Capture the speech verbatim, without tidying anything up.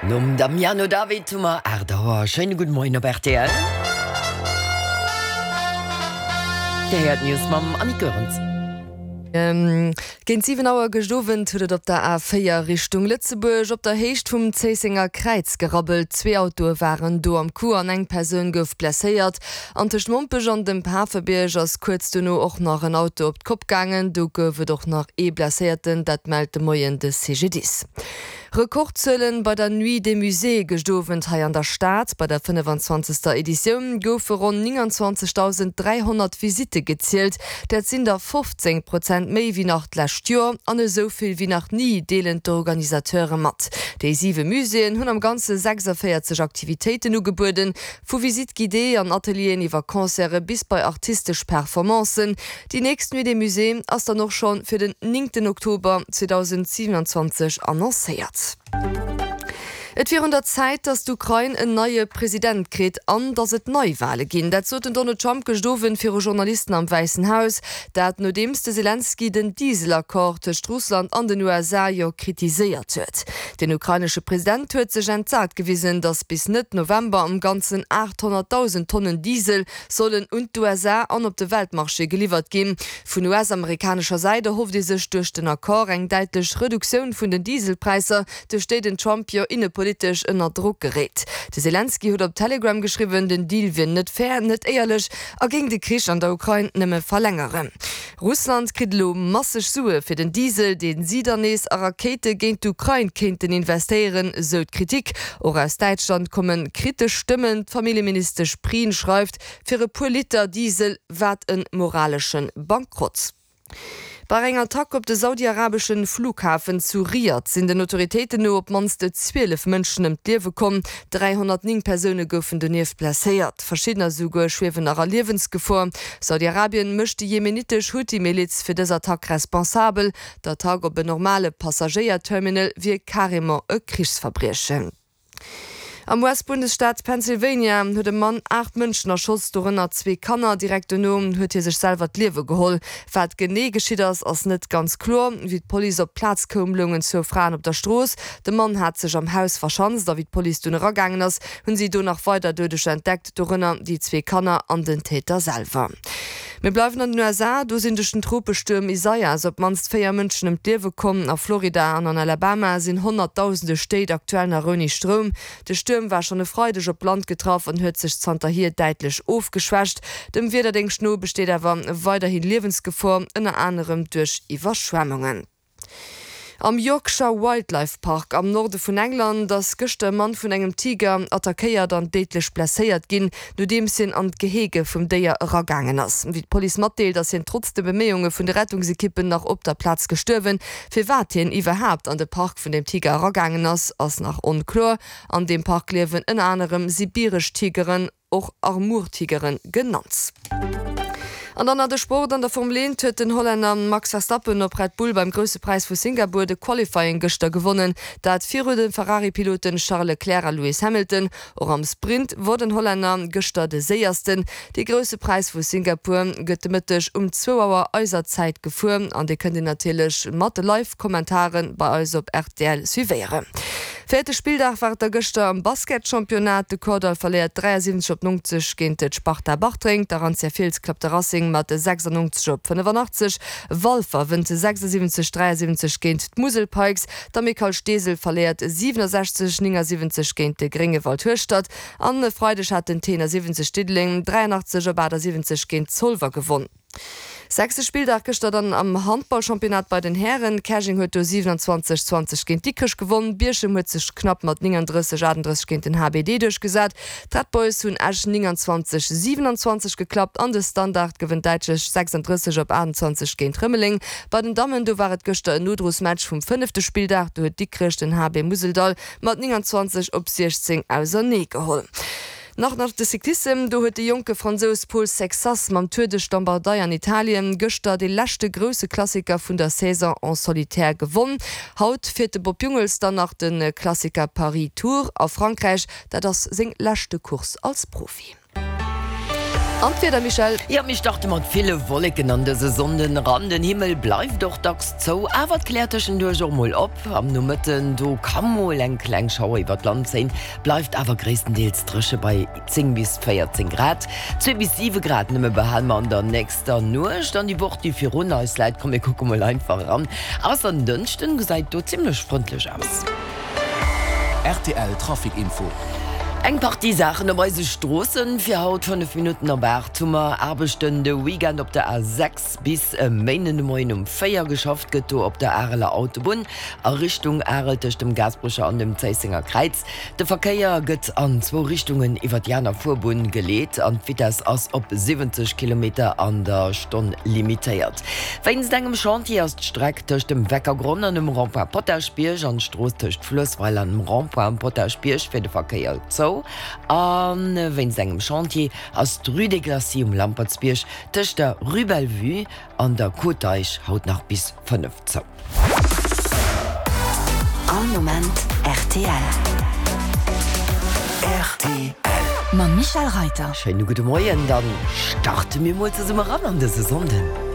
Nom Damiano David hu mer aacht Auer. Schéine gudde Moien op rtl. Dir héiert d'News mam Annick Goerens. Géint siwen Auer gëscht Owend huet et op der A véier Richtung Lëtzebuerg op der Héicht vum Zéissenger Kräiz gerabbelt. Zwee Autoe waren do am Coup an eng Persoun gouf blesséiert. An tëscht Mompech an dem Pafebierg ass kuerz dono och nach en Auto op d'Kopp gaangen. Do gouf et och nach ee Blesséierten, dat mellt de Moien de C G D I S. Rekordzuelen bei der Nuit des Musées gëscht Owend hei an der Stad. Bei der fënnefenzwanzegster Editioun goufe ronn nénganzwanzegdausend dräihonnert Visitte gezielt. Dat sinn der fofzéng Prozent méi wéi nach d'lescht Joer an esou vill wéi nach ni, deelen d'Organisateure mat. Déi siwe Muséeën hunn am Ganze sechsavéierzeg Aktivitéiten ugebueden, vu Visites guidées an Atelieren iwwer Concerte bis bei artistesch Performancen. Déi nächst Nuit des Musées ass dann och scho fir den néngten Oktober zweedausendsiwenanzwanzeg annoncéiert. Et wier un der Zäit, datt d'Ukrain en neie President kritt an datt et Neiwale ginn. Dat sot den Donald Trump gëscht Owend viru Journalisten am Wäissen Haus. Dat nodeems de Selenskyj den Dieselaccord tëscht Russland an den U S A jo kritiséiert huet. Den ukrainesche President huet sech entsat gewisen, datt bis Mëtt November am Ganzen aathonnertdausend Tonnen Diesel sollen un d'U S A an op de Weltmarché geliwwert ginn. Vun U S-amerikanescher Säit erhofft ee sech duerch den Accord eng däitlech Reduktioun vun den Dieselpräisser, duerch déi den Trump jo innepolitesch ënner Drock geréit. De Selenskyj huet op Telegram geschriwwen, den Deal wier net fair, net éierlech a géing de Krich an der Ukrain nëmme verlängeren. Russland kritt elo masseg Sue fir den Diesel, deen si dann nees a Rakéite géint d'Ukrain kéinten investéieren, sou d'Kritik. Och aus Däitschland komme kritesch Stëmmen. D'Familljeministesch Prien schreift, fir e puer Liter Diesel, wat e moralesche Bankrott. Bei enger Attack op de saudi-arabeschen Flughafen zu Riad sinn den Autoritéiten no op d'mannst zwielef Mënschen ëm d'Liewe komm. dräihonnertnéng Persoune goufen donieft blesséiert. Verschiddener souguer schwiewen nach a Liewensgefor. Saudi-Arabien mécht déi jemenitesch Huthi-Miliz fir dës Attack responsabel. D'Attack op en normale Passagéierterminal wier carrément e Krichsverbriechen. Am U S-Bundesstaat Pennsylvania huet e Mann aacht Mënschen erschoss, dorënner zwee Kanner. Direkt dono huet hie sech selwer d'Liewe geholl. Wat genee geschitt ass, ass net ganz kloer. Wéi d'Police op d'Plaz koum, loungen zwou Fraen op der Strooss. De Mann hat sech am Haus verschanzt a wéi d'Police dunn eragaangen ass, hunn si do nach weider Doudeger entdeckt, dorënner déi zwee Kanner an den Täter selwer. Mir bleiwen an den U S A, do sinn duerch den Tropestuerm Isaias op d'mannst véier Mënschen ëm d'Liewe komm. A Florida an an Alabama sinn honnertdausende Stéit aktuell nach ouni Stroum. De Stuerm war schonn e Freideg op Land getraff an huet sech zanterhier däitlech ofgeschwächt. Dem Wiederdéngscht no besteet awer weiderhi Liewensgefor, ënner anerem duerch Iwwerschwemmungen. Am Yorkshire Wildlife Park am Norde vun England ass gëschter e Mann vun engem Tiger attackéiert an déidlech blesséiert ginn, nodeems hien an d'Gehege vum Déier eragaangen ass. Wéi d'Police matdeelt, ass hien trotz de Beméiunge vun de Rettungsekippen nach op der Plaz gestuerwen. Firwat hien iwwerhaapt an de Park vun dem Tiger eragaangen ass, ass nach onkloer. An deem Park liewen ënner anerem sibiresch Tigeren, och Amur-Tigere genannt. An dann nach de Sport. An der Formel eent huet den Hollänner Max Verstappen op Red Bull beim Grousse Präis vu Singapur de Qualifying gëschter gewonnen, dat viru de Ferrari-Piloten Charles Leclerc a Lewis Hamilton. Och am Sprint wor den Hollänner gëschter de Séiersten. De Grousse Präis vu Singapur gëtt de Mëtteg um zwou Auer eiser Zäit gefuer an Dir kënnt en natierlech mat de Live-Kommentare bei eis op R T L suivéieren. Véierte Spilldag war et da gëschter am Basketchampionnat. De Kordall verléiert dräiasiwwenzeg op nonzeg géint d'Sparta Bartreng. D'Arantia Fiels klappt de Racing mat sechsannonzeg op fënnefanaachtzeg. Walfer wënnt sechsasiwwenzeg dräiasiwwenzeg géint d'Musel Pikes. D'Amicale Steesel verléiert siwenasechzeg néngasiwwenzeg géint de Gréngewald Hueschtert. An e Freideg hat den Tenor siwwenzeg Diddeleng dräianachtzeg op achtasiwwenzeg géint Zolwer gewonn. Sechste Spilldag gëschter dann am Handballchampionnat bei den Hären. Käerjeng huet do siewenundzwanzeg zwanzeg géint Dikrech gewonn. Bierchem huet sech knapp mat nénganddrësseg achtendrësseg géint den H B D duerchgesat. D'Red Boys hunn Esch nénganzwanzeg siewenundzwanzeg geklappt an de Standard gewënnt däitlech sechsandrësseg op aachtundzwanzeg géint Rëmeleng. Bei den Dammen, do war et gëschter en Nodrosmatch vum fënnefte Spilldag. Do huet Dikrech den H B Museldall mat nénganzwanzeg op siechzéng auserneegeholl. Nach nach de Cyclissem, do huet de jonke Fransous Paul Sexas mam Tour de Lombardei an Italien gëschter de leschte grousse Klassiker vun der Saison en solitaire gewonn. Haut fiert de Bob Jungels dann nach de Klassiker Paris-Tours a Frankräich, dat ass seng leschte Course als Profi. An d'Wieder, Michèle? Jo, mir starte mat ville Wolleken an dëse Sonnden eran. Den Himmel bleift och dacks zou, awer et kläert tëschenduerch och mol op. Am Nomëtten, do ka mol eng kleng Schauer iwwer d'Land zéien, bleift awer gréisstendeels dréche bei zéng bis véierzéng Grad. Zwee bis siwe Grad nëmme behale mer an der nächster Nuecht. An déi Woch, déi virun eis läit, komm mir kucke mol einfach eran, ass en Dënschden, gesäit do zimmlech frëndlech aus. Rtl Trafic Info. Eng Partie Saachen op eise Stroossen fir haut, Fënnef Minutten op aacht hu mer Aarbechten de Weekend op der A sechs bis e Méinden de Moien um véier. Geschafft gëtt do op der Areler Autobunn a Richtung Arel tëscht dem Gaasperecher an dem Zéissenger Kräiz. De Verkéier gëtt an zwou Richtungen iwwer déi aner Fuerbunn geleet an d'Vitess ass op siwwenzeg Kilometer an der Stonn limitéiert. Wéinst engem Chantier ass d'Streck tëscht dem Weckergronn an dem Rond-point Potaschbierg an d'Strooss tëscht Fluessweiler an dem Rond-point Potaschbierg fir de Verkéier zou. A wéinst engem Chantier ass d'Rue des Glacis um Lampertsbierg tëscht der Rue Bellevue an der Côte d'Eich haut nach bis fënnef zou. All Moment rtl. Rtl. Mam Michèle Reiter. Schéine gudde Moien, dann starte mir mol zesumme ran an dëse Sonnden.